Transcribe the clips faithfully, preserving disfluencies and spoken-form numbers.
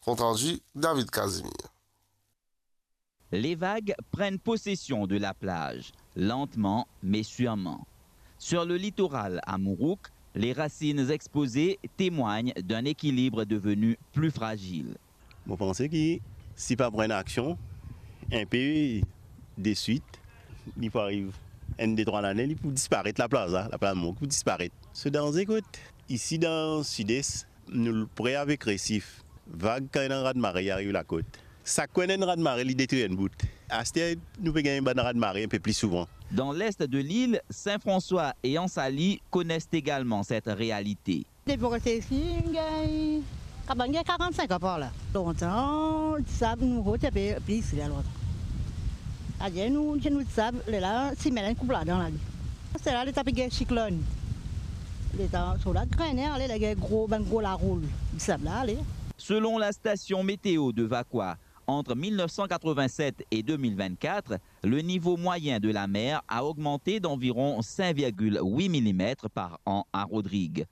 Compte rendu, David Casimir. Les vagues prennent possession de la plage, lentement mais sûrement. Sur le littoral à Mourouk, les racines exposées témoignent d'un équilibre devenu plus fragile. Mo panse ki si pa pran enn aksion, inpe deswit, li pou ariv enn de trwa lane, li pou disparet, laplaz la, laplaz Mourouk pou disparet. So danze kot? Isi dan Sides, nou pre avek resif. Vag kan ena rad mare, li ariv lakot. Sak kwen ena rad mare, li detrir enn bout. Aster, nou pe gagn bann rad mare inpe pli souvan. Dans l'est de l'île, Saint-François et Anse-Alix connaissent également cette réalité. Depi mo reste isi, gagn, kapav gagn karant-sink an par la. Lontan, disab nou rod ti pe plis la lontan. Aster nou, nou disab, lerla, simen la inn koup ladan la. Aster la, letan pe gagn siklonn, letan so la grenn, ale, la gagn gro, bann gro laroul, disab la, ale. Selon la station météo de Vacoas, entre mille neuf cent quatre-vingt-sept et deux mille vingt-quatre, le niveau moyen de la mer a augmenté d'environ cinq virgule huit millimètres par an à Rodrigues.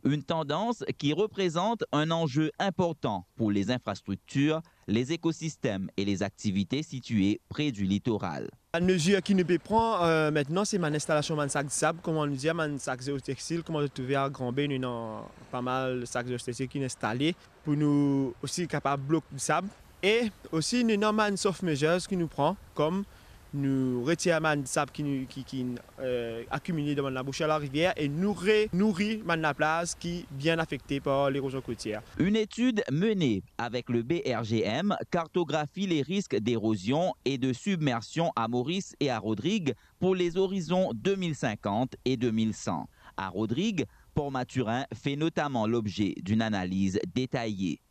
Une tendance qui représente un enjeu important pour les infrastructures, les écosystèmes et les activités situées près du littoral. Bann mezir ki nou pe pran, euh, aster, se bann instalasion bann sak disab, kouma nou dir, bann sak zeotextil, kouma zot trouve a Grand Baie, nou ena pa mal sak zeotextil ki instale, pou nou osi kapav blok disab. E osi, nou ena bann soft measures ki nou pran, kom nou retir bann disab ki nou, ki, ki, euh, akimile dan bann labouser larivier e nou renouri bann laplaz ki bien afekte par l'érosion côtière. Une étude menée avec le B R G M cartographie les risques d'érosion et de submersion à Maurice et à Rodrigues pour les horizons deux mille cinquante et deux mille cent. À Rodrigues, Port Mathurin fait notamment l'objet d'une analyse détaillée.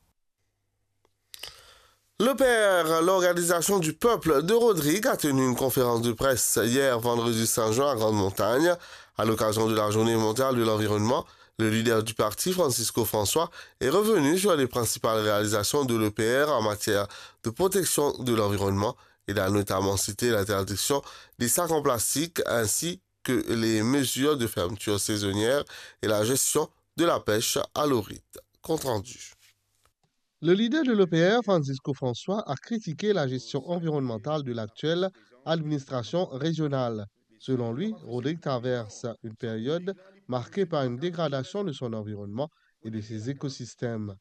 L'O P R, l'Organisation du Peuple de Rodrigues, a tenu une conférence de presse hier, vendredi cinq juin, à Grande-Montagne, à l'occasion de la Journée mondiale de l'environnement. Le leader du parti, Francisco François, est revenu sur les principales réalisations de l'O P R en matière de protection de l'environnement. Il a notamment cité l'interdiction des sacs en plastique ainsi que les mesures de fermeture saisonnière et la gestion de la pêche à l'orite. Compte rendu. Le leader de l'O P R, Francisco François, a critiqué la gestion environnementale de l'actuelle administration régionale. Selon lui, Rodrigue traverse une période marquée par une dégradation de son environnement et de ses écosystèmes.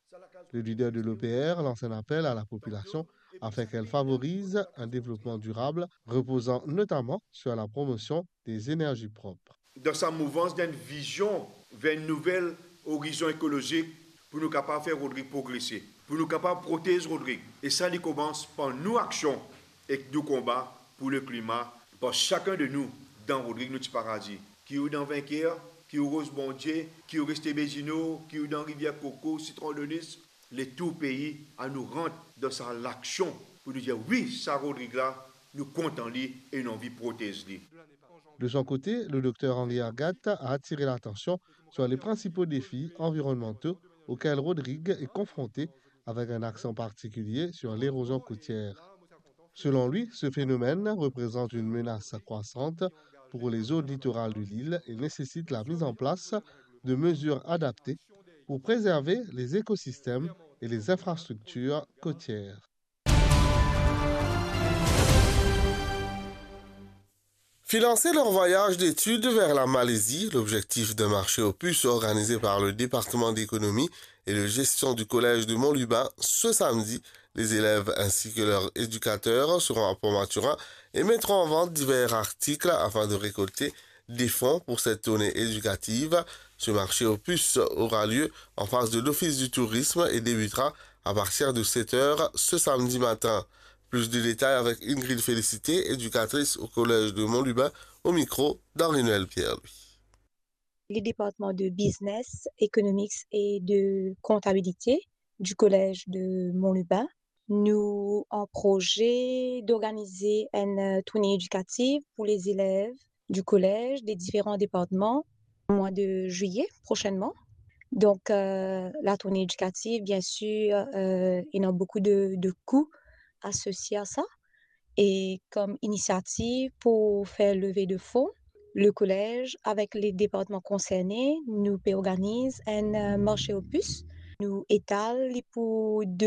Le leader de l'O P R lance un appel à la population afin qu'elle favorise un développement durable reposant notamment sur la promotion des énergies propres. Dan sa mouvans, dan enn vizion ver enn nouvel orizon ekolozik pou nou kapav fer Rodrig progrese, pou nou kapav protez Rodrig. E sa, li koumans par nou aksion ek nou konba pou leklima, par sakenn de nou dan Rodrig, nou ti paradi. Ki ou dan Vainqueur, ki ou Roze Bondie, ki ou Reste Bezino, ki ou dan Rivier Koko, Citron de Nice, letou pei, anou rant dan sa laksion pou nou dir, wi, sa Rodrig la, nou kontan li e nou anvi protez li. De son côté, le docteur Henri Ergat a attiré l'attention sur les principaux défis environnementaux auxquels Rodrigue est confronté, avec un accent particulier sur l'érosion côtière. Selon lui, ce phénomène représente une menace croissante pour les zones littorales de l'île et nécessite la mise en place de mesures adaptées pour préserver les écosystèmes et les infrastructures côtières. Financer leur voyage d'études vers la Malaisie, l'objectif d'un marché aux puces organisé par le département d'économie et de gestion du collège de Mont-Lubin ce samedi. Les élèves ainsi que leurs éducateurs seront à Port-Mathurin et mettront en vente divers articles afin de récolter des fonds pour cette tournée éducative. Ce marché aux puces aura lieu en face de l'Office du tourisme et débutera à partir de sept heures ce samedi matin. Plus de détails avec Ingrid Félicité, éducatrice au collège de Mont-Lubin, au micro d'Henri-Noël Pierre-Louis. Le département de business, economics et de comptabilité du collège de Mont-Lubin, nou an proze d'organize enn, euh, tournée éducative pour les élèves du collège des différents départements au mois de juillet prochainement. Donc, euh, la tournée éducative, bien sûr, euh, il y a beaucoup de, de coûts associés à ça. Et comme initiative pour faire levée de fonds, le collège avec les départements concernés, nou pe organiz enn, euh, marché aux puces. Nou etal li pou de